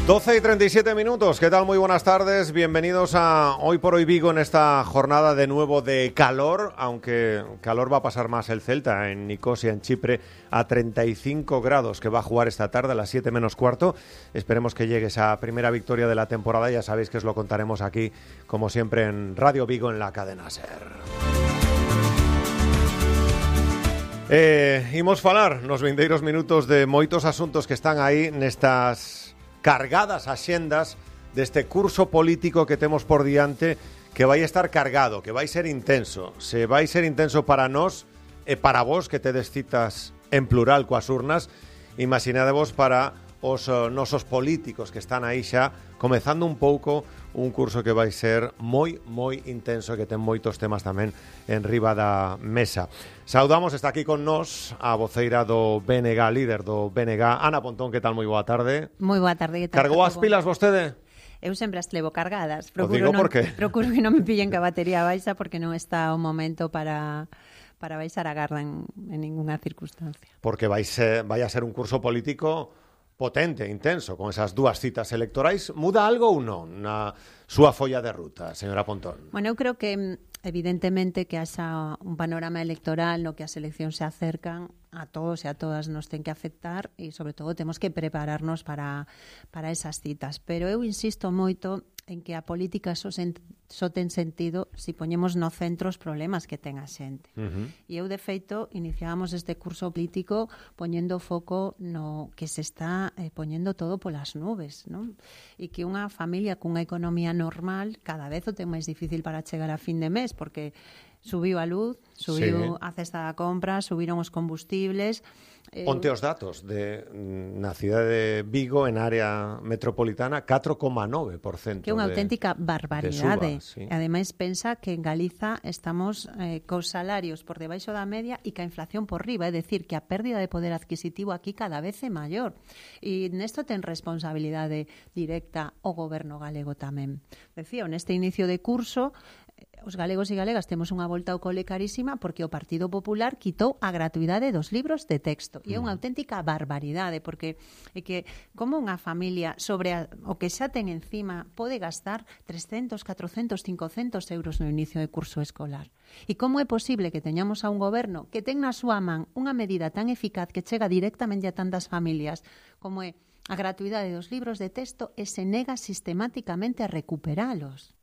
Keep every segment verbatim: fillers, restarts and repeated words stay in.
doce y treinta y siete minutos, ¿qué tal? Muy buenas tardes, bienvenidos a Hoy por Hoy Vigo en esta jornada de nuevo de calor, aunque calor va a pasar más el Celta en Nicosia, en Chipre, a treinta y cinco grados, que va a jugar esta tarde a las siete menos cuarto. Esperemos que llegue esa primera victoria de la temporada, ya sabéis que os lo contaremos aquí, como siempre, en Radio Vigo, en la cadena SER. Eh, imos falar nos vindeiros minutos de moitos asuntos que están aí nestas cargadas axendas deste curso político que temos por diante, que vai estar cargado, que vai ser intenso. Se vai ser intenso para nós e para vos que tedes citas en plural coas urnas, imaginadevos para os uh, nosos políticos que están aí xa comezando un pouco un curso que vai ser moi, moi intenso e que ten moitos temas tamén en riba da mesa. Saudamos, está aquí con nós a voceira do B N G, líder do B N G, Ana Pontón, que tal? Moi boa tarde. Moi boa tarde, que tal? Cargou as pilas vostede? Eu sempre as levo cargadas. Procuro, digo, non, por qué? Procuro que non me pillen que a batería baixa porque non está o momento para... para baixar a garda en, en ninguna circunstancia. Porque vai, ser, vai a ser un curso político potente, intenso, con esas dúas citas electorais. Muda algo ou non na súa folla de ruta, señora Pontón? Bueno, eu creo que evidentemente que haxa un panorama electoral no que as eleccións se acercan, a todos e a todas nos ten que afectar e sobre todo temos que prepararnos para, para esas citas. Pero eu insisto moito en que a política só, sen, só ten sentido se si poñemos no centro os problemas que ten a xente. Uh-huh. E eu, de feito, iniciábamos este curso político poñendo foco no que se está eh, poñendo todo polas nubes, non? E que unha familia cunha economía normal cada vez o ten máis difícil para chegar a fin de mes, porque subiu a luz, subiu sí. a cesta da compra, subiron os combustibles. Eh, Onte os datos de, na cidade de Vigo, en área metropolitana, catro coma nove por cento. Que é unha de, auténtica barbaridade. Suba, sí. Ademais, pensa que en Galiza estamos eh, cos salarios por debaixo da media e ca inflación por riba, é dicir, que a pérdida de poder adquisitivo aquí cada vez é maior. E nesto ten responsabilidade directa o goberno galego tamén. Decía, neste inicio de curso, os galegos e galegas temos unha volta ao cole carísima porque o Partido Popular quitou a gratuidade dos libros de texto. E é unha auténtica barbaridade, porque é que como unha familia sobre a, o que xa ten encima pode gastar trescentos, catrocentos, cincocentos euros no inicio de curso escolar. E como é posible que teñamos a un goberno que ten na súa man unha medida tan eficaz que chega directamente a tantas familias como é a gratuidade dos libros de texto e se nega sistemáticamente a recuperalos?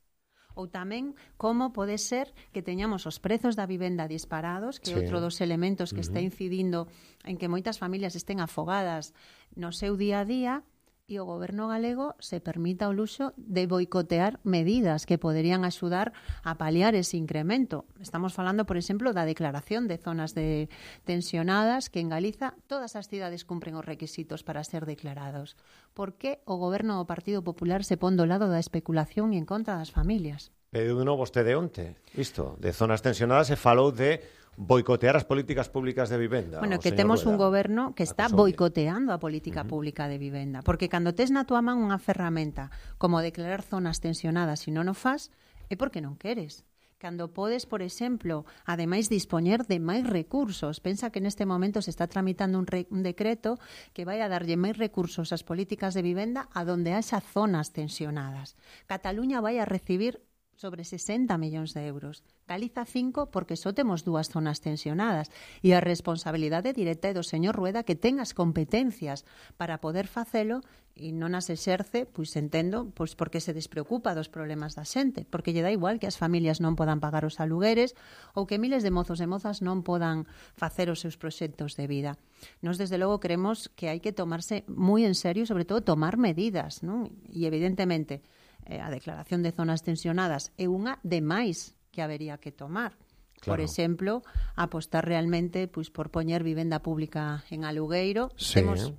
Ou tamén como pode ser que teñamos os prezos da vivenda disparados, que é sí. outro dos elementos que uh-huh. está incidindo en que moitas familias estén afogadas no seu día a día, e o goberno galego se permita o luxo de boicotear medidas que poderían axudar a paliar ese incremento. Estamos falando, por exemplo, da declaración de zonas de tensionadas, que en Galiza todas as cidades cumpren os requisitos para ser declarados. Por que o goberno do Partido Popular se pon do lado da especulación e en contra das familias? Pediu de novo vostede onte, isto, de zonas tensionadas, se falou de boicotear as políticas públicas de vivenda. Bueno, que temos un goberno que está boicoteando a política uh-huh. pública de vivenda, porque cando tes na túa man unha ferramenta como declarar zonas tensionadas e non o fas, é porque non queres. Cando podes, por exemplo, ademais dispoñer de máis recursos. Pensa que neste momento se está tramitando un, re, un decreto que vai a darlle máis recursos ás políticas de vivenda a donde haxa zonas tensionadas. Cataluña vai a recibir sobre sesenta millóns de euros. Galiza cinco porque só temos dúas zonas tensionadas e a responsabilidade directa é do señor Rueda, que ten as competencias para poder facelo e non as exerce, pois entendo, pois porque se despreocupa dos problemas da xente, porque lle dá igual que as familias non podan pagar os alugueres ou que miles de mozos e mozas non podan facer os seus proxectos de vida. Nos, desde logo, creemos que hai que tomarse moi en serio, sobre todo tomar medidas, non? E evidentemente a declaración de zonas tensionadas é unha de máis que habería que tomar. Claro. Por exemplo, apostar realmente pois, por poñer vivenda pública en alugueiro. Sí. Temos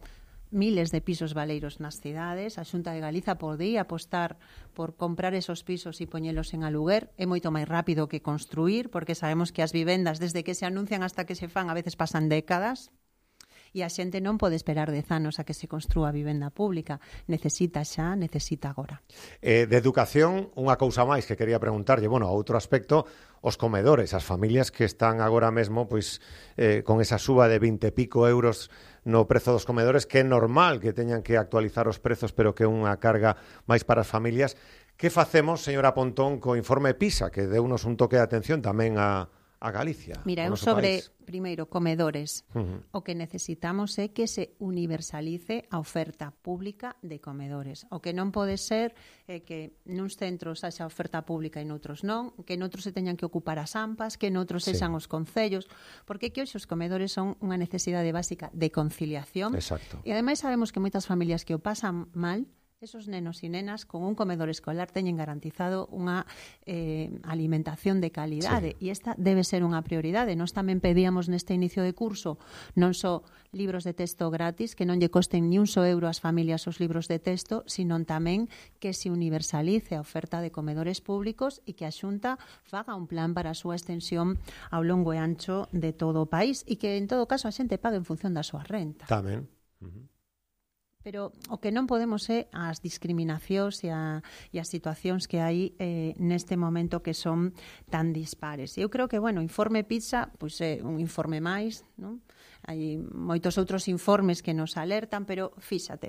miles de pisos baleiros nas cidades. A Xunta de Galiza podía apostar por comprar esos pisos e poñelos en aluguer. É moito máis rápido que construir, porque sabemos que as vivendas, desde que se anuncian hasta que se fan, a veces pasan décadas. E a xente non pode esperar dez anos a que se construa a vivenda pública. Necesita xa, necesita agora. Eh, de educación, unha cousa máis que quería preguntarlle, bueno, a outro aspecto, os comedores, as familias que están agora mesmo pois eh, con esa suba de vinte e pico euros no prezo dos comedores, que é normal que teñan que actualizar os prezos, pero que é unha carga máis para as familias. Que facemos, señora Pontón, co informe PISA, que deunos un toque de atención tamén a, a Galicia? Mira, eu sobre, país. primeiro, comedores. Uh-huh. O que necesitamos é que se universalice a oferta pública de comedores. O que non pode ser é que nuns centros haxa oferta pública e noutros non, que noutros se teñan que ocupar as AMPAs, que noutros sí. sexan os concellos, porque que hoxe os comedores son unha necesidade básica de conciliación. Exacto. E ademais sabemos que moitas familias que o pasan mal, esos nenos e nenas con un comedor escolar teñen garantizado unha eh, alimentación de calidade, sí. e esta debe ser unha prioridade. Nós tamén pedíamos neste inicio de curso non só libros de texto gratis, que non lle costen ni un só euro ás familias os libros de texto, sino tamén que se universalice a oferta de comedores públicos e que a Xunta faga un plan para a súa extensión ao longo e ancho de todo o país e que en todo caso a xente pague en función da súa renta. Tamén. Uh-huh. Pero o que non podemos é as discriminacións e, a, e as situacións que hai eh, neste momento que son tan dispares. Eu creo que, bueno, o informe PISA pois é un informe máis, non? Hai moitos outros informes que nos alertan, pero fíxate,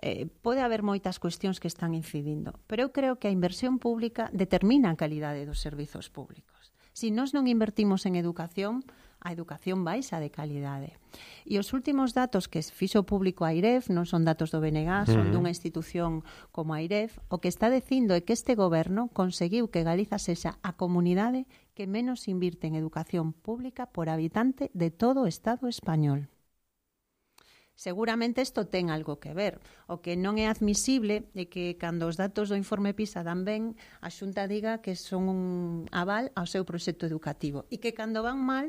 eh, pode haber moitas cuestións que están incidindo, pero eu creo que a inversión pública determina a calidade dos servizos públicos. Se nós non invertimos en educación, a educación baixa de calidade. E os últimos datos que fixo público a AIREF, non son datos do B N G, son dunha institución como a AIREF, o que está dicindo é que este goberno conseguiu que Galiza sexa a comunidade que menos invirte en educación pública por habitante de todo o Estado español. Seguramente isto ten algo que ver. O que non é admisible é que cando os datos do informe PISA dan ben, a Xunta diga que son un aval ao seu proxecto educativo e que cando van mal,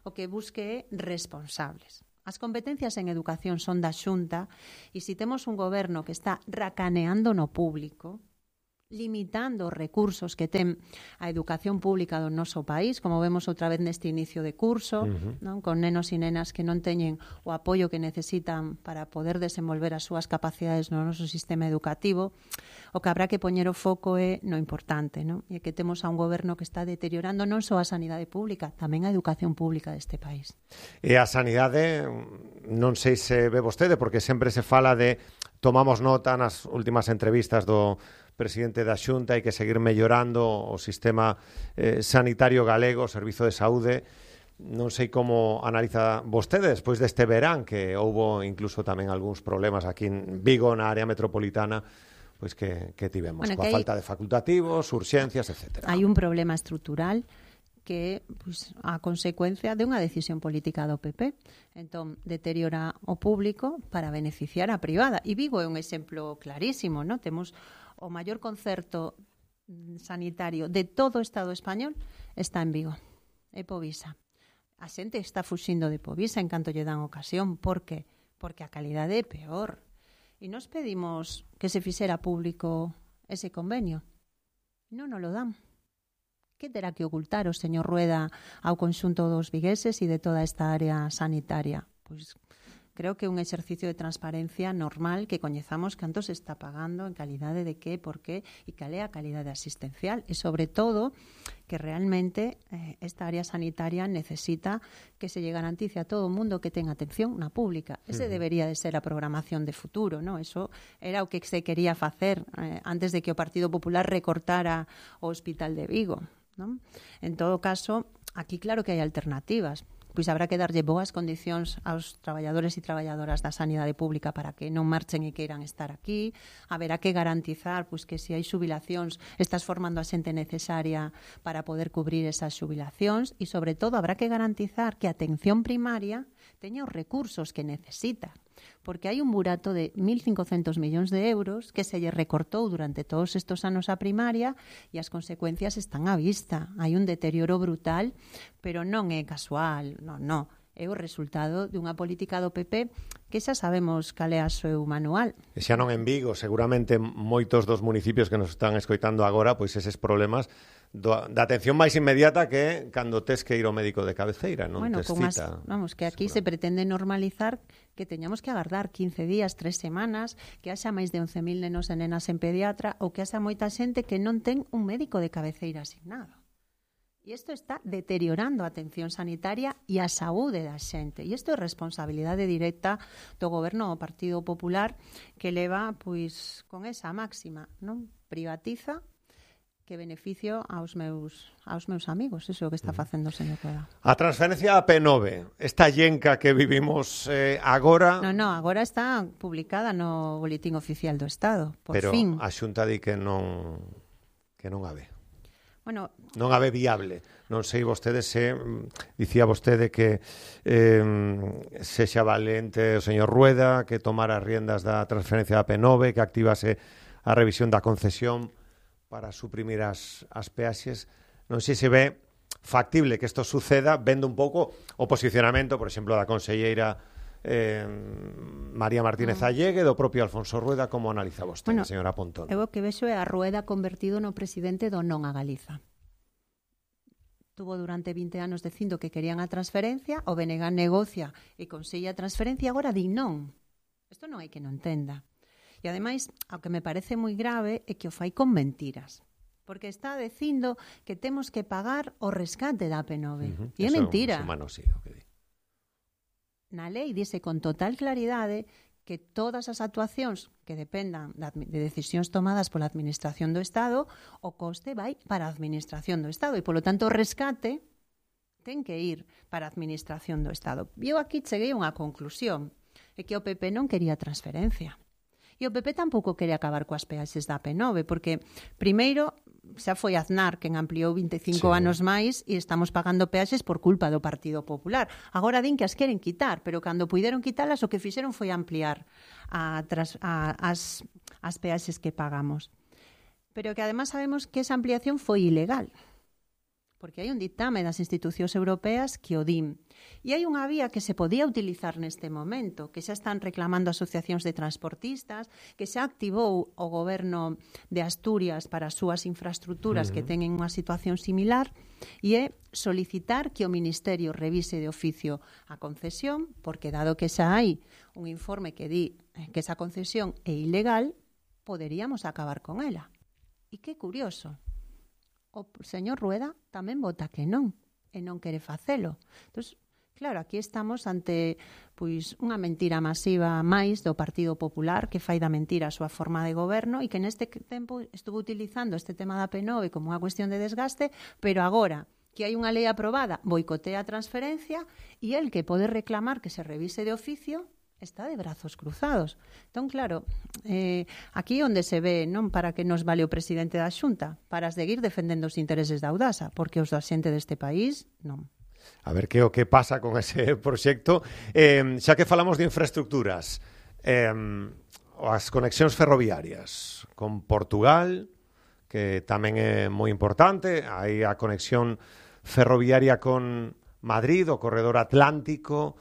o que busque é responsables. As competencias en educación son da Xunta e se temos un goberno que está racaneando no público, limitando os recursos que ten a educación pública do noso país, como vemos outra vez neste inicio de curso, uh-huh. non? Con nenos e nenas que non teñen o apoio que necesitan para poder desenvolver as súas capacidades no noso sistema educativo, o que habrá que poñer o foco é no importante, non? E que temos a un goberno que está deteriorando non só a sanidade pública, tamén a educación pública deste país. E a sanidade, non sei se ve vostede, porque sempre se fala de, tomamos nota nas últimas entrevistas do presidente da Xunta, hai que seguir mellorando o sistema eh, sanitario galego, o servizo de saúde. Non sei como analiza vostede despois deste verán, que houbo incluso tamén algúns problemas aquí en Vigo, na área metropolitana, pois que, que tivemos, bueno, coa hay... falta de facultativos, urxencias, etcétera. Hai un problema estrutural que é pois, a consecuencia de unha decisión política do P P. Entón, deteriora o público para beneficiar a privada. E Vigo é un exemplo clarísimo, non? Temos o maior concerto sanitario de todo o Estado español está en Vigo, é Povisa. A xente está fuxindo de Povisa en canto lle dan ocasión. Por que? Porque a calidade é peor. E nos pedimos que se fixera público ese convenio. Non nos lo dan. Que terá que ocultar o señor Rueda ao conxunto dos vigueses e de toda esta área sanitaria? Pois creo que é un exercicio de transparencia normal que coñezamos canto se está pagando, en calidade de que, por qué e cal é a calidade asistencial. E, sobre todo, que realmente eh, esta área sanitaria necesita que se lle garantice a todo o mundo que ten atención na pública. Ese uh-huh. debería de ser a programación de futuro, ¿no? Eso era o que se quería facer eh, antes de que o Partido Popular recortara o Hospital de Vigo, ¿no? En todo caso, aquí claro que hai alternativas. Pois habrá que darlle boas condicións aos traballadores e traballadoras da sanidade pública para que non marchen e queiran estar aquí. Haberá que garantizar pois, que se hai xubilacións estás formando a xente necesaria para poder cubrir esas xubilacións e, sobre todo, habrá que garantizar que a atención primaria teña os recursos que necesita. Porque hai un burato de mil cincocentos millóns de euros que se lle recortou durante todos estos anos a primaria e as consecuencias están á vista. Hai un deterioro brutal, pero non é casual, non, non. É o resultado dunha política do P P que xa sabemos cal é a seu manual. E xa non en Vigo, seguramente moitos dos municipios que nos están escoitando agora, pois eses problemas do, da atención máis inmediata que cando tes que ir ao médico de cabeceira, non bueno, tes cita. As, vamos, que aquí seguro. Se pretende normalizar que teñamos que agardar quince días, tres semanas, que haxa máis de once mil nenos e nenas en pediatra ou que haxa moita xente que non ten un médico de cabeceira asignado. E isto está deteriorando a atención sanitaria e a saúde da xente. E isto é responsabilidade directa do goberno do Partido Popular, que leva pois con esa máxima, non? Privatiza que beneficio aos meus aos meus amigos. Iso é o que está facendo o señor Rueda. A transferencia da P nove, esta llenca que vivimos eh, agora... Non, non, agora está publicada no Boletín Oficial do Estado, por pero fin. Pero a Xunta di que non que non a ve. Bueno, non a ve viable. Non sei vostede se, dicía vostede que eh, sexa valente o señor Rueda, que tomara as riendas da transferencia da P nove, que activase a revisión da concesión para suprimir as, as peaxes. Non sei se ve factible que isto suceda, vendo un pouco o posicionamento, por exemplo, da conselleira eh, María Martínez Allegue, do propio Alfonso Rueda. Como analiza vostede, bueno, señora Pontón? Eu o que vexo é a Rueda convertido no presidente do non a Galiza. Tuvo durante vinte anos dicindo que querían a transferencia, o B N G negocia e consigue a transferencia, agora di non. Isto non hai que non entenda. E ademais, o que me parece moi grave é que o fai con mentiras. Porque está dicindo que temos que pagar o rescate da P nove. Uh-huh. E é mentira. Humano, sí, okay. Na lei dice con total claridade que todas as actuacións que dependan de decisións tomadas pola Administración do Estado, o coste vai para a Administración do Estado e, polo tanto, o rescate ten que ir para a Administración do Estado. E eu aquí cheguei a unha conclusión, é que o P P non quería transferencia. E o P P tampouco quere acabar coas peaxes da P nove, porque, primeiro, xa foi Aznar quen ampliou vinte e cinco sí. anos máis e estamos pagando peaxes por culpa do Partido Popular. Agora din que as queren quitar, pero cando puideron quitalas o que fixeron foi ampliar a, a, as, as peaxes que pagamos. Pero que además sabemos que esa ampliación foi ilegal, porque hai un ditame das institucións europeas que o din. E hai unha vía que se podía utilizar neste momento, que xa están reclamando asociacións de transportistas, que xa activou o goberno de Asturias para as súas infraestructuras uh-huh. que teñen unha situación similar, e é solicitar que o Ministerio revise de oficio a concesión, porque dado que xa hai un informe que di que esa concesión é ilegal, poderíamos acabar con ela. E que curioso, o señor Rueda tamén vota que non, e non quere facelo. Entón, claro, aquí estamos ante pois unha mentira masiva máis do Partido Popular, que fai da mentira a súa forma de goberno e que neste tempo estuvo utilizando este tema da P nove como unha cuestión de desgaste, pero agora que hai unha lei aprobada, boicotea a transferencia e el que pode reclamar que se revise de oficio está de brazos cruzados. Entón, claro, eh, aquí onde se ve, non para que nos vale o presidente da Xunta, para seguir defendendo os intereses da Audasa, porque os da xente deste país, non. A ver que o que pasa con ese proxecto. Eh, xa que falamos de infraestructuras, eh, as conexións ferroviarias con Portugal, que tamén é moi importante, hai a conexión ferroviaria con Madrid, o corredor atlántico,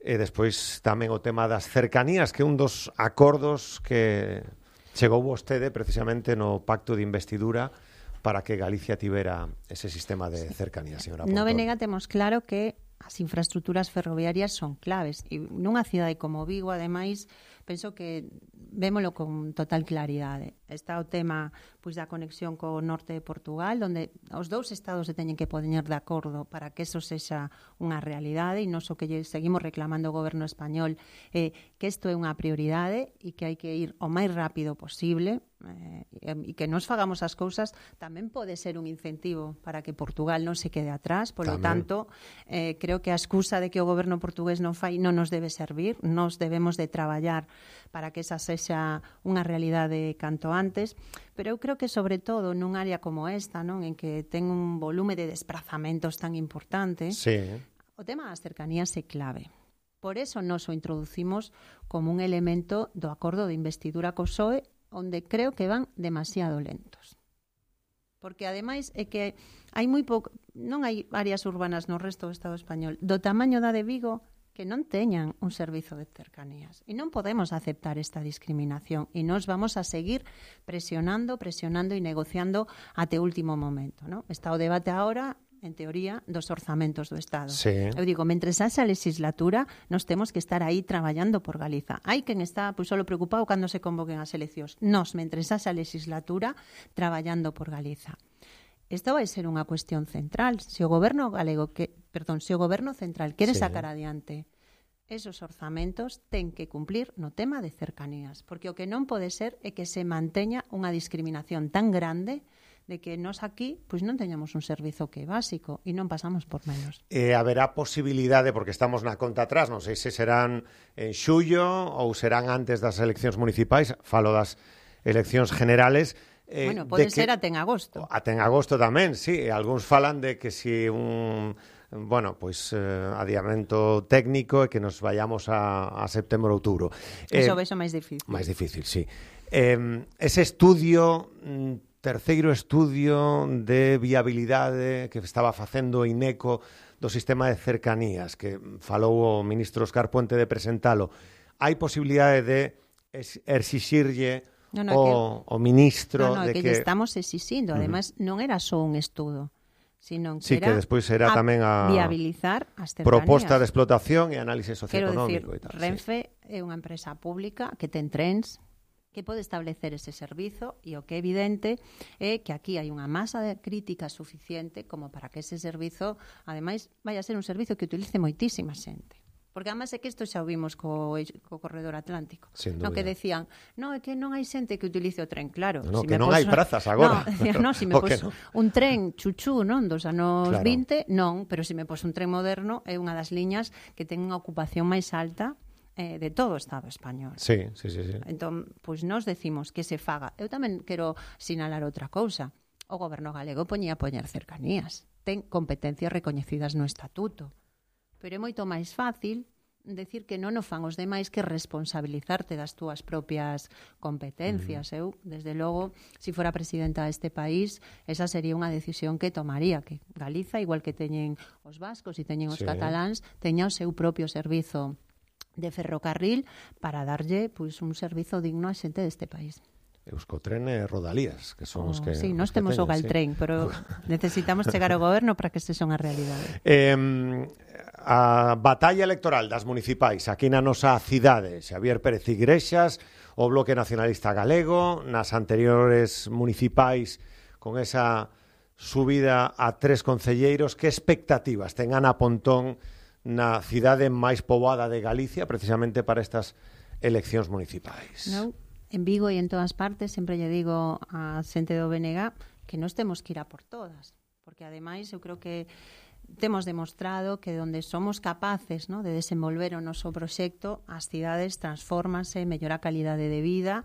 e despois tamén o tema das cercanías, que é un dos acordos que chegou vostede precisamente no pacto de investidura para que Galicia tivera ese sistema de cercanías, señora Pontón. No B N G temos claro que as infraestructuras ferroviarias son claves e nunha cidade como Vigo, ademais, penso que vémolo con total claridade. Está o tema pois da conexión co norte de Portugal, onde os dous estados se teñen que poñer de acordo para que eso sexa unha realidade, e non só que seguimos reclamando o goberno español eh, que isto é unha prioridade e que hai que ir o máis rápido posible, eh, e que nos fagamos as cousas tamén pode ser un incentivo para que Portugal non se quede atrás. Por lo tanto, eh, creo que a excusa de que o goberno portugués non fai non nos debe servir. Nos debemos de traballar para que esa sexa unha realidade canto antes, pero eu creo que sobre todo nun área como esta, non, en que ten un volume de desplazamentos tan importante, sí. O tema das cercanías é clave. Por eso nos o introducimos como un elemento do acordo de investidura co P S O E, onde creo que van demasiado lentos. Porque ademais é que hai moi pouco, non hai áreas urbanas no resto do Estado español do tamaño da de Vigo que non teñan un servizo de cercanías. E non podemos aceptar esta discriminación e nos vamos a seguir presionando, presionando e negociando até o último momento, ¿no? Está o debate agora, en teoría, dos orzamentos do Estado. Sí. Eu digo, mentres haxa legislatura, nos temos que estar aí traballando por Galiza. Hai quen está pois, solo preocupado cando se convoquen as eleccións. Nos, mentres haxa legislatura, traballando por Galiza. Isto vai ser unha cuestión central. Se o goberno galego, que, perdón, se o goberno central quere sí. sacar adiante esos orzamentos, ten que cumplir no tema de cercanías, porque o que non pode ser é que se manteña unha discriminación tan grande de que nós aquí pois non teñamos un servizo que é básico e non pasamos por menos. E haberá posibilidade, porque estamos na conta atrás, non sei se serán en xullo ou serán antes das eleccións municipais, falo das eleccións generales. Eh, bueno, pode ser até en agosto. Até en agosto tamén, sí. Algúns falan de que si un, bueno, pois pues, eh, adiamento técnico e que nos vayamos a, a setembro, outubro. Eso eh, vexo máis difícil. Máis difícil, sí. Eh, ese estudio, terceiro estudio de viabilidade que estaba facendo o INECO do sistema de cercanías, que falou o ministro Óscar Puente de presentalo, hai posibilidade de exixirlle No, no, o, que, o ministro no, no, de que, que... estamos exixindo, uh-huh. Además non era só un estudo, sino que sí, era que despois era a tamén a viabilizar as cercanías. Proposta de explotación e análisis socioeconómico. Quero dicir, e tal, Renfe sí. é unha empresa pública que ten trens, que pode establecer ese servizo e o que é evidente é que aquí hai unha masa de crítica suficiente como para que ese servizo, ademais, vai a ser un servizo que utilice moitísima xente. Porque además é que isto xa o vimos co, co corredor atlántico. No, que decían, no, é que non hai xente que utilice o tren, claro. No, si que non poso, hai prazas agora. No, decían, no, si me pos no? un tren chuchú, non, dos anos claro. vinte, non, pero se me pos un tren moderno é unha das liñas que ten unha ocupación máis alta eh, de todo o Estado español. Sí, sí, sí, sí. Entón, pois nos decimos que se faga. Eu tamén quero sinalar outra cousa. O goberno galego poñía a poñer cercanías. Ten competencias recoñecidas no estatuto. Pero é moito máis fácil decir que non o fan os demais que responsabilizarte das túas propias competencias. Mm. Eu, desde logo, se si fora presidenta deste país, esa sería unha decisión que tomaría, que Galiza, igual que teñen os vascos e teñen os sí. cataláns, teña o seu propio servizo de ferrocarril para darlle pois, un servizo digno á xente deste país. Euskotren e Rodalías, que son oh, os que... Sí, nós temos o Galtren, sí. Pero necesitamos chegar ao goberno para que se son a realidade. Eh, a batalla electoral das municipais aquí na nosa cidade, Xavier Pérez Igrexas, o Bloque Nacionalista Galego, nas anteriores municipais con esa subida a tres concelleiros, que expectativas ten Ana Pontón na cidade máis poboada de Galicia precisamente para estas eleccións municipais? Non. En Vigo e en todas partes sempre lle digo a xente do B N G que nós temos que ir a por todas, porque ademais eu creo que temos demostrado que onde somos capaces, ¿no?, de desenvolver o noso proxecto, as cidades transfórmanse, mellora a calidade de vida.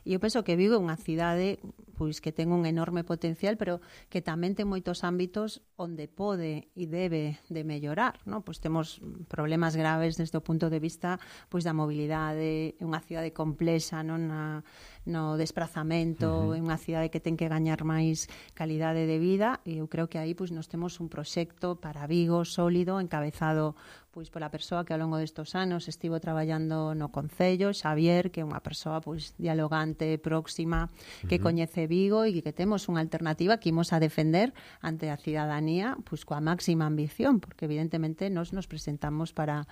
E eu penso que Vigo é unha cidade pois que ten un enorme potencial, pero que tamén ten moitos ámbitos onde pode e debe de mellorar, ¿no? Pois temos problemas graves desde o punto de vista pois da mobilidade, é unha cidade complexa, non, na no desplazamento, uh-huh. é unha cidade que ten que gañar máis calidade de vida, e eu creo que aí pois nos temos un proxecto para Vigo sólido, encabezado pois pola persoa que ao longo destos anos estivo traballando no Concello, Xavier, que é unha persoa pois dialogante, próxima, que uh-huh. coñece Vigo e que temos unha alternativa que imos a defender ante a cidadanía pois coa máxima ambición, porque evidentemente nos nos presentamos para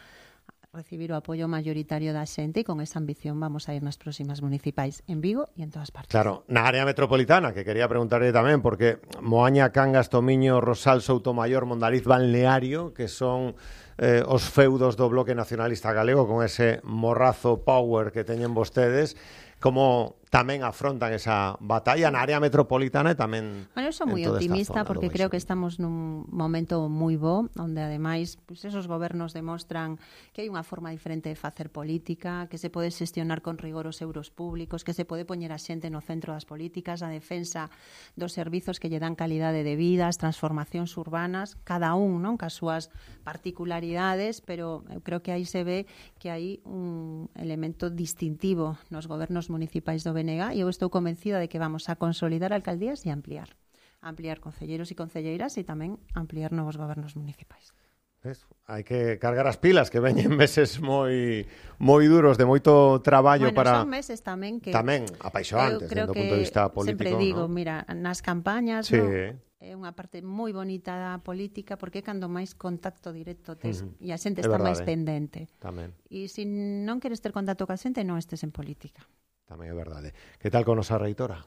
recibir o apoio mayoritario da xente e con esa ambición vamos a ir nas próximas municipais en Vigo e en todas partes. Claro, na área metropolitana, que quería preguntarle tamén, porque Moaña, Cangas, Tomiño, Rosal, Soutomayor, Mondariz, Balneario, que son eh, os feudos do Bloque Nacionalista Galego con ese morrazo power que teñen vostedes, como tamén afrontan esa batalla na área metropolitana e tamén... Bueno, eu sou moi optimista porque creo que estamos nun momento moi bo, onde ademais pues, esos gobernos demostran que hai unha forma diferente de facer política, que se pode xestionar con rigor os euros públicos, que se pode poñer a xente no centro das políticas, a defensa dos servizos que lle dan calidade de vida, as transformacións urbanas, cada un, non, cas súas particularidades, pero eu creo que aí se ve que hai un elemento distintivo nos gobernos municipais do B N G e eu estou convencida de que vamos a consolidar alcaldías e ampliar. Ampliar concelleiros e concelleiras e tamén ampliar novos gobernos municipais. ¿Ves? Hai que cargar as pilas, que veñen meses moi moi duros, de moito traballo bueno, para... Bueno, son meses tamén que... Tamén apaixoantes, desde o punto de vista político. Sempre digo, ¿no? mira, nas campañas, sí. ¿no? É unha parte moi bonita da política porque é cando máis contacto directo tes uh-huh. e a xente está máis pendente. Tamén. E se non queres ter contacto ca xente, non estes en política. Tamén é verdade. Que tal con nosa reitora?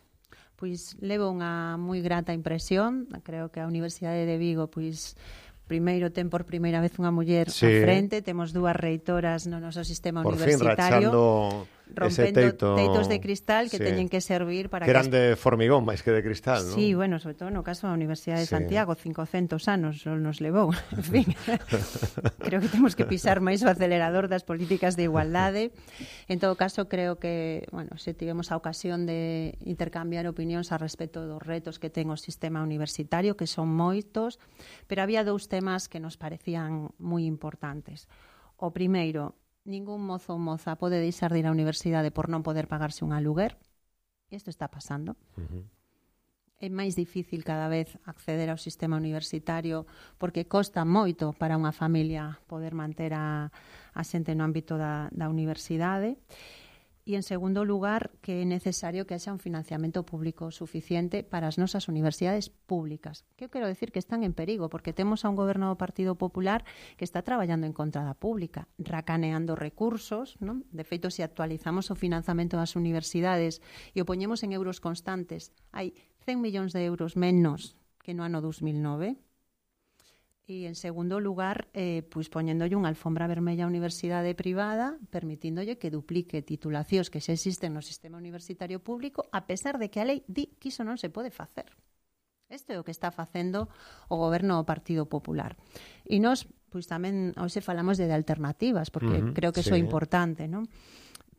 pois levo unha moi grata impresión. Creo que a Universidade de Vigo, pois, primeiro ten por primeira vez unha muller sí. á frente, temos dúas reitoras no noso sistema por universitario. Por fin, rachando rompendo teito, teitos de cristal que sí. teñen que servir para que eran que... de formigón máis que de cristal, non? Sí, bueno, sobre todo no caso da Universidade de sí. Santiago, cincocentos anos nos levou, en fin. Creo que temos que pisar máis o acelerador das políticas de igualdade. En todo caso, creo que, bueno, se tivemos a ocasión de intercambiar opinións a respecto dos retos que ten o sistema universitario, que son moitos, pero había dous temas que nos parecían moi importantes. O primeiro, ningún mozo ou moza pode deixar de ir á universidade por non poder pagarse un aluguer. Isto está pasando. Uh-huh. É máis difícil cada vez acceder ao sistema universitario porque costa moito para unha familia poder manter a, a xente no ámbito da, da universidade. E, en segundo lugar, que é necesario que haxa un financiamento público suficiente para as nosas universidades públicas. Que eu quero decir que están en perigo, porque temos a un goberno do Partido Popular que está traballando en contra da pública, racaneando recursos, non? De feito, se actualizamos o financiamento das universidades e o poñemos en euros constantes, hai cen millóns de euros menos que no ano dos mil nove. E, en segundo lugar, eh, pois poñéndolle unha alfombra vermella á universidade privada, permitíndolle que duplique titulacións que xa existen no sistema universitario público, a pesar de que a lei di que iso non se pode facer. Isto é o que está facendo o goberno do Partido Popular. E nós, pois tamén, hoxe falamos de alternativas, porque uh-huh, creo que sí. Iso é importante, non?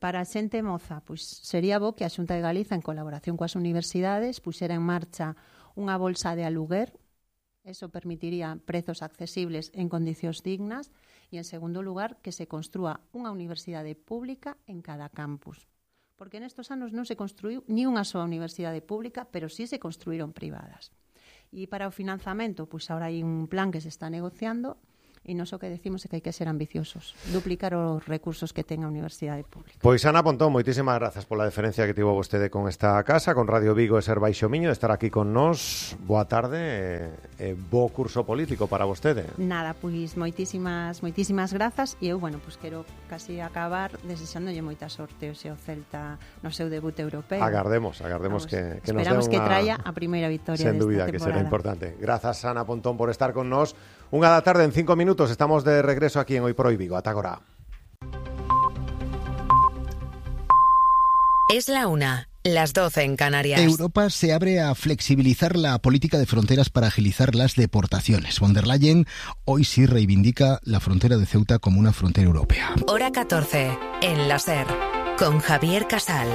Para a xente moza, pois sería bo que a Xunta de Galiza, en colaboración coas universidades, puxera en marcha unha bolsa de aluguer. Eso permitiría prezos accesibles en condicións dignas e, en segundo lugar, que se construa unha universidade pública en cada campus. Porque nestos anos non se construiu ni unha soa universidade pública, pero sí se construíron privadas. E para o financiamento, pois agora hai un plan que se está negociando e nos o que decimos é que hai que ser ambiciosos, duplicar os recursos que ten a Universidade Pública. Pois Ana Pontón, moitísimas grazas pola deferencia que tivo vostede con esta casa, con Radio Vigo e Ser Baixo Miño, de estar aquí con nós. Boa tarde e, e bo curso político para vostede. Nada, pois moitísimas moitísimas grazas e eu, bueno, pois quero casi acabar desexándolle moita sorte hoxe ao Celta no seu debut europeo. Agardemos, agardemos Vamos, que, que nos dé Esperamos unha... que traia a primeira victoria Sen desta dúbida, temporada. Que será importante. Grazas, Ana Pontón, por estar con nós. Unha da tarde en cinco minutos, estamos de regreso aquí en Hoy por Hoy Vigo. Ata agora. Es la una, las doce en Canarias. Europa se abre a flexibilizar la política de fronteras para agilizar las deportaciones. Von der Leyen hoy sí reivindica la frontera de Ceuta como una frontera europea. Hora catorce, en la SER. Con Javier Casal.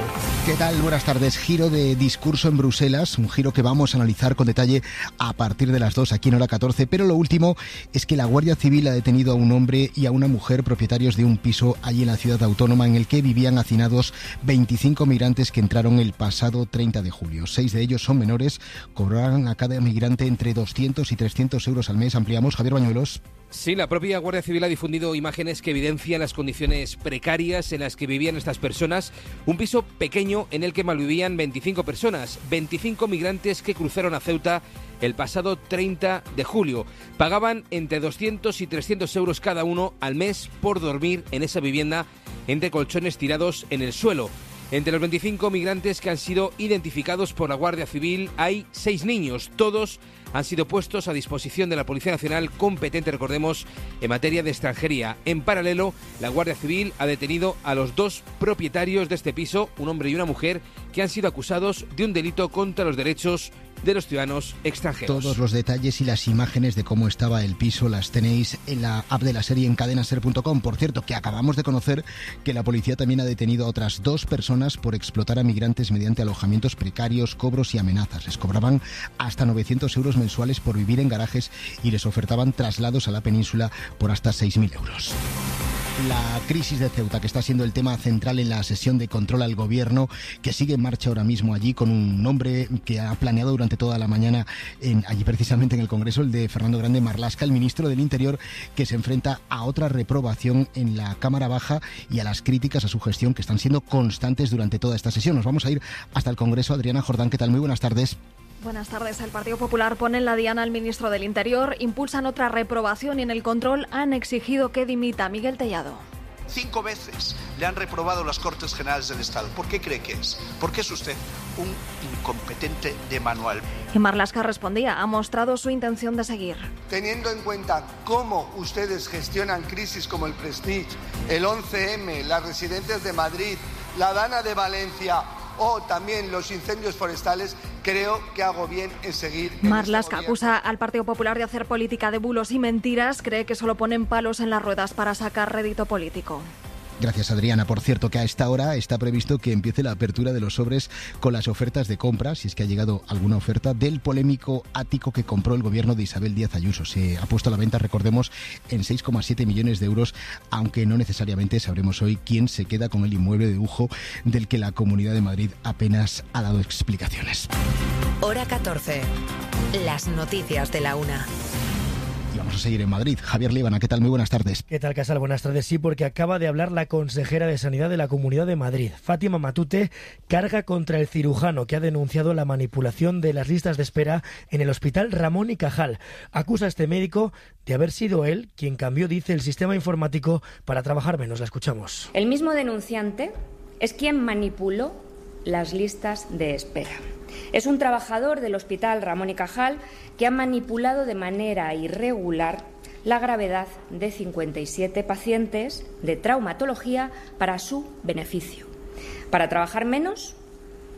¿Qué tal? Buenas tardes. Giro de discurso en Bruselas, un giro que vamos a analizar con detalle a partir de las dos aquí en Hora catorce, pero lo último es que la Guardia Civil ha detenido a un hombre y a una mujer propietarios de un piso allí en la ciudad autónoma en el que vivían hacinados veinticinco migrantes que entraron el pasado treinta de julio. Seis de ellos son menores, cobrarán a cada migrante entre doscientos y trescientos euros al mes. Ampliamos, Javier Bañuelos. Sí, la propia Guardia Civil ha difundido imágenes que evidencian las condiciones precarias en las que vivían estas personas. Un piso pequeño en el que malvivían veinticinco personas, veinticinco migrantes que cruzaron a Ceuta el pasado treinta de julio. Pagaban entre doscientos y trescientos euros cada uno al mes por dormir en esa vivienda entre colchones tirados en el suelo. Entre los veinticinco migrantes que han sido identificados por la Guardia Civil hay seis niños. Todos han sido puestos a disposición de la Policía Nacional, competente, recordemos, en materia de extranjería. En paralelo, la Guardia Civil ha detenido a los dos propietarios de este piso, un hombre y una mujer, que han sido acusados de un delito contra los derechos de los ciudadanos extranjeros. Todos los detalles y las imágenes de cómo estaba el piso las tenéis en la app de la serie en cadena ser punto com. Por cierto, que acabamos de conocer que la policía también ha detenido a otras dos personas por explotar a migrantes mediante alojamientos precarios, cobros y amenazas. Les cobraban hasta novecientos euros mensuales por vivir en garajes y les ofertaban traslados a la península por hasta seis mil euros. La crisis de Ceuta, que está siendo el tema central en la sesión de control al gobierno, que sigue en marcha ahora mismo allí con un nombre que ha planeado durante toda la mañana en, allí precisamente en el Congreso, el de Fernando Grande Marlaska, el ministro del Interior, que se enfrenta a otra reprobación en la Cámara Baja y a las críticas a su gestión que están siendo constantes durante toda esta sesión. Nos vamos a ir hasta el Congreso. Adriana Jordán, ¿qué tal? Muy buenas tardes. Buenas tardes. El Partido Popular pone en la diana al ministro del Interior, impulsan otra reprobación y en el control han exigido que dimita. Miguel Tellado. Cinco veces le han reprobado las Cortes Generales del Estado. ¿Por qué cree que es? Porque es usted un incompetente de manual. Y Marlaska respondía, ha mostrado su intención de seguir. Teniendo en cuenta cómo ustedes gestionan crisis como el Prestige, el once eme, las residencias de Madrid, la Dana de Valencia o también los incendios forestales, creo que hago bien en seguir. Marlaska este acusa al Partido Popular de hacer política de bulos y mentiras. Cree que solo ponen palos en las ruedas para sacar rédito político. Gracias, Adriana. Por cierto, que a esta hora está previsto que empiece la apertura de los sobres con las ofertas de compra, si es que ha llegado alguna oferta, del polémico ático que compró el gobierno de Isabel Díaz Ayuso. Se ha puesto a la venta, recordemos, en seis coma siete millones de euros, aunque no necesariamente sabremos hoy quién se queda con el inmueble de lujo del que la Comunidad de Madrid apenas ha dado explicaciones. Hora catorce. Las noticias de la una. Y vamos a seguir en Madrid. Javier Líbana, ¿qué tal? Muy buenas tardes. ¿Qué tal, Casal? Buenas tardes. Sí, porque acaba de hablar la consejera de Sanidad de la Comunidad de Madrid. Fátima Matute carga contra el cirujano que ha denunciado la manipulación de las listas de espera en el Hospital Ramón y Cajal. Acusa a este médico de haber sido él quien cambió, dice, el sistema informático para trabajar menos. La escuchamos. El mismo denunciante es quien manipuló las listas de espera. Es un trabajador del Hospital Ramón y Cajal que ha manipulado de manera irregular la gravedad de cincuenta y siete pacientes de traumatología para su beneficio, para trabajar menos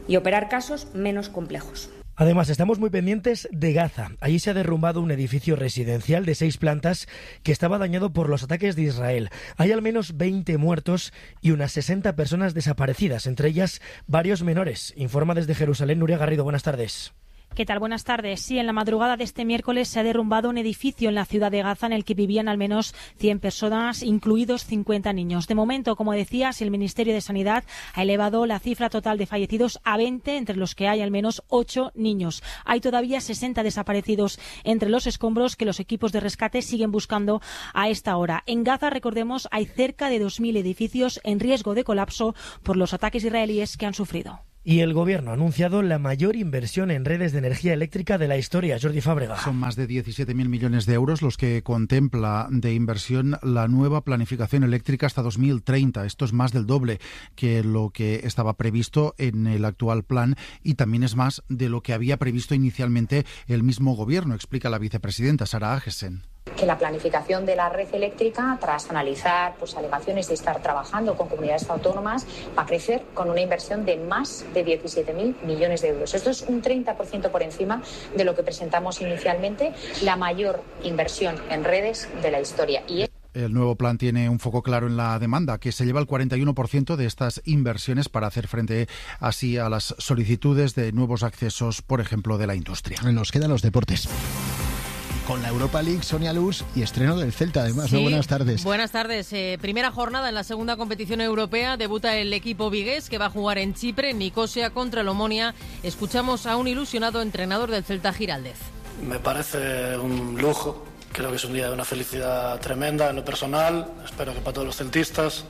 y operar casos menos complejos. Además, estamos muy pendientes de Gaza. Allí se ha derrumbado un edificio residencial de seis plantas que estaba dañado por los ataques de Israel. Hay al menos veinte muertos y unas sesenta personas desaparecidas, entre ellas varios menores. Informa desde Jerusalén Nuria Garrido. Buenas tardes. ¿Qué tal? Buenas tardes. Sí, en la madrugada de este miércoles se ha derrumbado un edificio en la ciudad de Gaza en el que vivían al menos cien personas, incluidos cincuenta niños. De momento, como decías, el Ministerio de Sanidad ha elevado la cifra total de fallecidos a veinte, entre los que hay al menos ocho niños. Hay todavía sesenta desaparecidos entre los escombros que los equipos de rescate siguen buscando a esta hora. En Gaza, recordemos, hay cerca de dos mil edificios en riesgo de colapso por los ataques israelíes que han sufrido. Y el Gobierno ha anunciado la mayor inversión en redes de energía eléctrica de la historia. Jordi Fábrega. Son más de diecisiete mil millones de euros los que contempla de inversión la nueva planificación eléctrica hasta dos mil treinta. Esto es más del doble que lo que estaba previsto en el actual plan y también es más de lo que había previsto inicialmente el mismo Gobierno, explica la vicepresidenta Sara Agesen. Que la planificación de la red eléctrica, tras analizar pues, alegaciones de estar trabajando con comunidades autónomas, va a crecer con una inversión de más de diecisiete mil millones de euros. Esto es un treinta por ciento por encima de lo que presentamos inicialmente, la mayor inversión en redes de la historia. Y es... El nuevo plan tiene un foco claro en la demanda, que se lleva el cuarenta y uno por ciento de estas inversiones para hacer frente así a las solicitudes de nuevos accesos, por ejemplo, de la industria. Nos quedan los deportes. Con la Europa League, Sonia Luz, y estreno del Celta, además. Sí, ¿no? Buenas tardes. Buenas tardes. Eh, primera jornada en la segunda competición europea. Debuta el equipo vigués, que va a jugar en Chipre, Nicosia contra el Omonia. Escuchamos a un ilusionado entrenador del Celta, Giraldez. Me parece un lujo. Creo que es un día de una felicidad tremenda en lo personal. Espero que para todos los celtistas.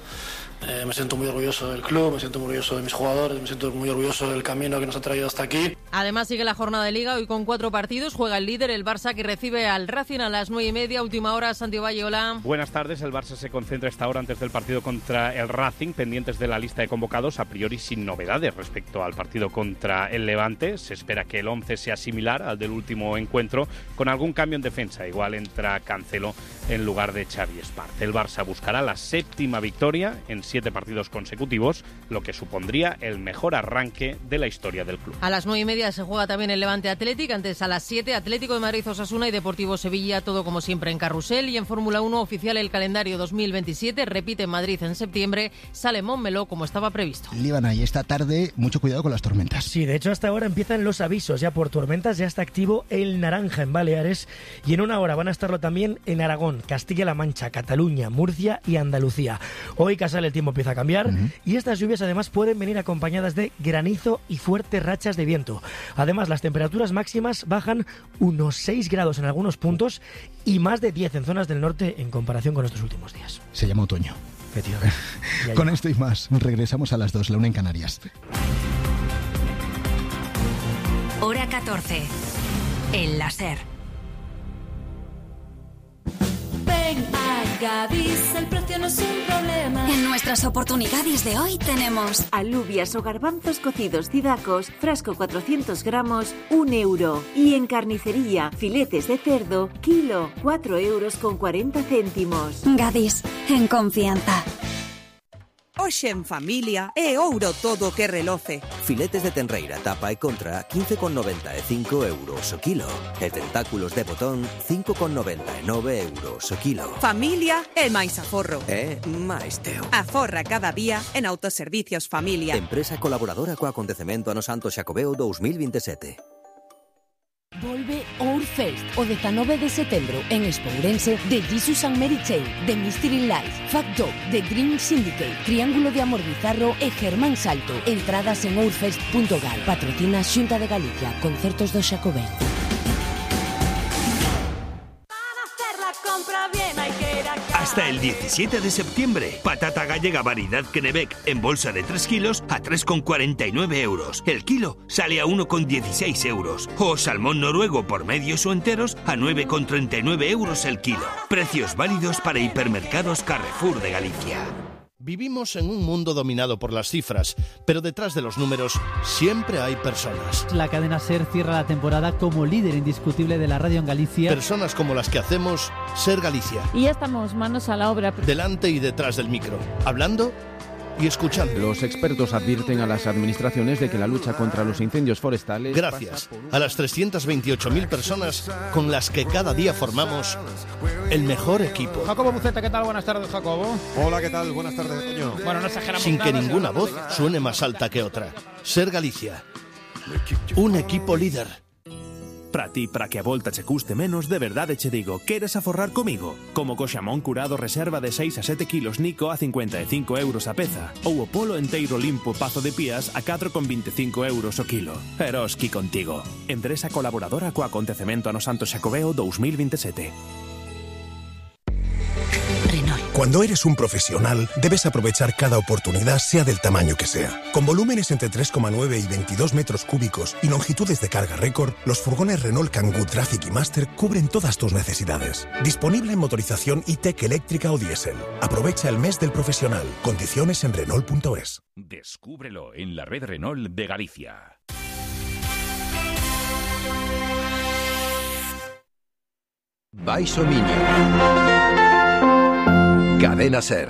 Eh, me siento muy orgulloso del club, me siento muy orgulloso de mis jugadores, me siento muy orgulloso del camino que nos ha traído hasta aquí. Además sigue la jornada de Liga, hoy con cuatro partidos. Juega el líder, el Barça, que recibe al Racing a las nueve y media. Última hora, Santiago Valle, hola. Buenas tardes, el Barça se concentra esta hora antes del partido contra el Racing, pendientes de la lista de convocados, a priori sin novedades respecto al partido contra el Levante. Se espera que el once sea similar al del último encuentro, con algún cambio en defensa. Igual entra Cancelo en lugar de Xavi Espart. El Barça buscará la séptima victoria en siete partidos consecutivos, lo que supondría el mejor arranque de la historia del club. A las nueve y media se juega también el Levante Athletic, antes a las siete Atlético de Madrid Osasuna y Deportivo Sevilla, todo como siempre en carrusel. Y en Fórmula uno oficial el calendario dos mil veintisiete, repite en Madrid en septiembre, sale Montmeló como estaba previsto. Líbana, y esta tarde mucho cuidado con las tormentas. Sí, de hecho hasta ahora empiezan los avisos ya por tormentas, ya está activo el naranja en Baleares y en una hora van a estarlo también en Aragón, Castilla-La Mancha, Cataluña, Murcia y Andalucía. Hoy Casal el tiempo empieza a cambiar uh-huh. y estas lluvias además pueden venir acompañadas de granizo y fuertes rachas de viento. Además, las temperaturas máximas bajan unos seis grados en algunos puntos y más de diez en zonas del norte en comparación con estos últimos días. Se llama otoño. Con esto y más, regresamos a las dos, la una en Canarias. Hora catorce, en la SER. Ven a Gadis, el precio no es un problema. En nuestras oportunidades de hoy tenemos alubias o garbanzos cocidos Didacos, frasco cuatrocientos gramos, un euro. Y en carnicería, filetes de cerdo, kilo, cuatro euros con cuarenta céntimos. Gadis, en confianza. Hoxe en familia é ouro todo que reloce. Filetes de tenreira, tapa e contra, quince con noventa e cinco euros o kilo. E tentáculos de botón, cinco con noventa e nove euros o kilo. Familia é máis aforro. É máis teo. Aforra cada día en Autoservicios Familia. Empresa colaboradora co acontecemento ano Santo Xacobeo dos mil veintisiete. Volve Ourfest o dezanove de setembro en Espourense de Jesus and Mary Chain, The Mystery Life, Fact Dog, The Green Syndicate, Triángulo de Amor Bizarro e Germán Salto. Entradas en ourfest punto gal. Patrocina Xunta de Galicia, Concertos do Xacobeo. Hasta el diecisiete de septiembre, patata gallega variedad Kennebec en bolsa de tres kilos a tres con cuarenta y nueve euros. El kilo sale a uno con dieciséis euros. O salmón noruego por medios o enteros a nueve con treinta y nueve euros el kilo. Precios válidos para hipermercados Carrefour de Galicia. Vivimos en un mundo dominado por las cifras, pero detrás de los números siempre hay personas. La cadena SER cierra la temporada como líder indiscutible de la radio en Galicia. Personas como las que hacemos SER Galicia. Y ya estamos manos a la obra. Delante y detrás del micro, hablando y escuchando. Los expertos advierten a las administraciones de que la lucha contra los incendios forestales... Gracias a las trescientas veintiocho mil personas con las que cada día formamos el mejor equipo. Jacobo Buceta, ¿qué tal? Buenas tardes, Jacobo. Hola, ¿qué tal? Buenas tardes, Toño. Bueno, no exageramos Sin nada, que ninguna voz suene más alta que otra. SER Galicia. Un equipo líder. Para ti, para que a volta che custe menos, de verdade che digo, queres aforrar comigo? Como co xamón curado reserva de seis a sete kilos Nico a cincuenta e cinco euros a peza, ou o polo enteiro limpo Pazo de Pías a catro con vinte e cinco euros o kilo. Eroski contigo. Empresa colaboradora co acontecemento ano Santo Xacobeo dos mil veintisiete. Cuando eres un profesional, debes aprovechar cada oportunidad, sea del tamaño que sea. Con volúmenes entre tres coma nueve y veintidós metros cúbicos y longitudes de carga récord, los furgones Renault Kangoo Traffic y Master cubren todas tus necesidades. Disponible en motorización E-Tech eléctrica o diésel. Aprovecha el mes del profesional. Condiciones en Renault punto es. Descúbrelo en la red Renault de Galicia. Baixo Miño. Cadena SER.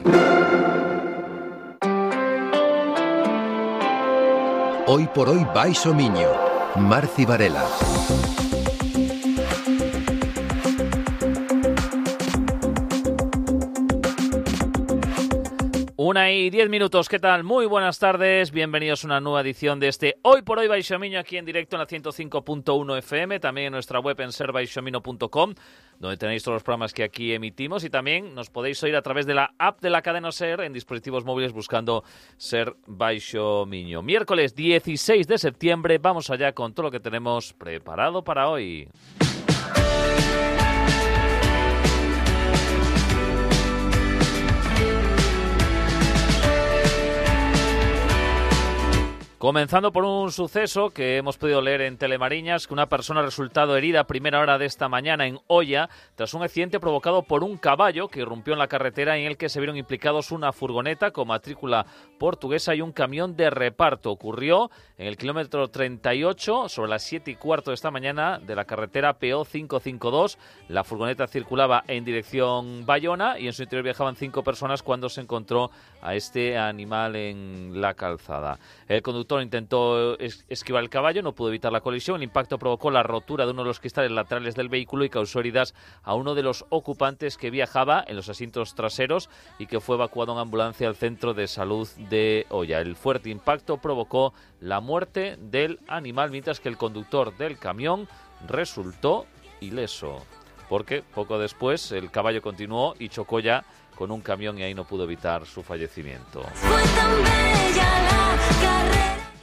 Hoy por hoy Baixo Miño. Marci Varela. Una y diez minutos, ¿qué tal? Muy buenas tardes, bienvenidos a una nueva edición de este Hoy por Hoy Baixo Miño, aquí en directo en la ciento cinco punto uno F M, también en nuestra web en ser baixo miño punto com, donde tenéis todos los programas que aquí emitimos, y también nos podéis oír a través de la app de la cadena SER en dispositivos móviles buscando Ser Baixo Miño. Miércoles dieciséis de septiembre, vamos allá con todo lo que tenemos preparado para hoy. Comenzando por un suceso que hemos podido leer en Telemariñas, que una persona ha resultado herida a primera hora de esta mañana en Oia tras un accidente provocado por un caballo que irrumpió en la carretera en el que se vieron implicados una furgoneta con matrícula portuguesa y un camión de reparto. Ocurrió en el kilómetro treinta y ocho, sobre las siete y cuarto de esta mañana, de la carretera P O quinientos cincuenta y dos. La furgoneta circulaba en dirección Bayona y en su interior viajaban cinco personas cuando se encontró a este animal en la calzada. El conductor intentó es- esquivar el caballo, no pudo evitar la colisión. El impacto provocó la rotura de uno de los cristales laterales del vehículo y causó heridas a uno de los ocupantes que viajaba en los asientos traseros y que fue evacuado en ambulancia al centro de salud de Oia. El fuerte impacto provocó la muerte del animal, mientras que el conductor del camión resultó ileso, porque poco después el caballo continuó y chocó ya con un camión y ahí no pudo evitar su fallecimiento.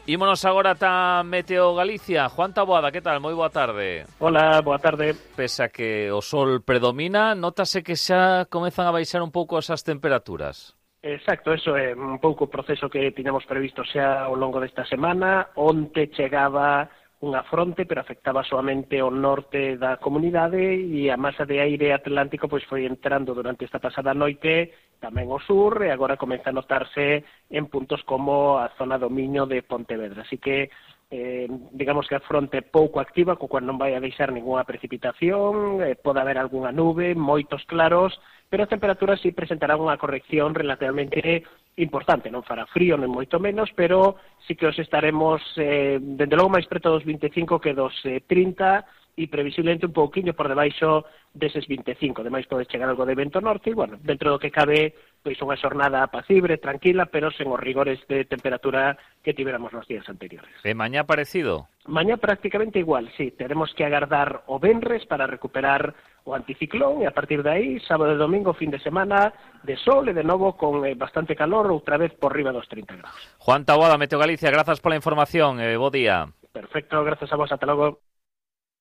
Ímonos agora ata Meteo Galicia. Juan Taboada, que tal? Moi boa tarde. Hola, boa tarde. Pese a que o sol predomina, notase que xa comezan a baixar un pouco esas temperaturas. Exacto, eso é un pouco o proceso que tiñamos previsto xa ao longo desta semana. Onte chegaba unha fronte, pero afectaba soamente o norte da comunidade e a masa de aire atlántico pois foi entrando durante esta pasada noite tamén ao sur e agora comeza a notarse en puntos como a zona do Miño de Pontevedra. Así que eh, digamos que a fronte pouco activa, co cual non vai a deixar ninguna precipitación, eh, pode haber algunha nube, moitos claros, pero as temperaturas sí presentarán unha corrección relativamente importante, non fará frío, non moito menos, pero sí que os estaremos, eh, dende logo máis preto dos vinte e cinco que dos eh, trinta, e previsiblemente un pouquiño por debaixo deses vinte e cinco. Ademais pode chegar algo de vento norte e, bueno, dentro do que cabe, pois unha xornada apacible, tranquila, pero sen os rigores de temperatura que tivéramos nos días anteriores. E mañá parecido? Mañá prácticamente igual, sí. Teremos que agardar o venres para recuperar o anticiclón e a partir de aí, sábado e domingo, fin de semana, de sol e de novo con eh, bastante calor, outra vez por riba dos trinta grados. Juan Taboada, Meteo Galicia, grazas pola información, eh, bo día. Perfecto, grazas a vos, ata logo.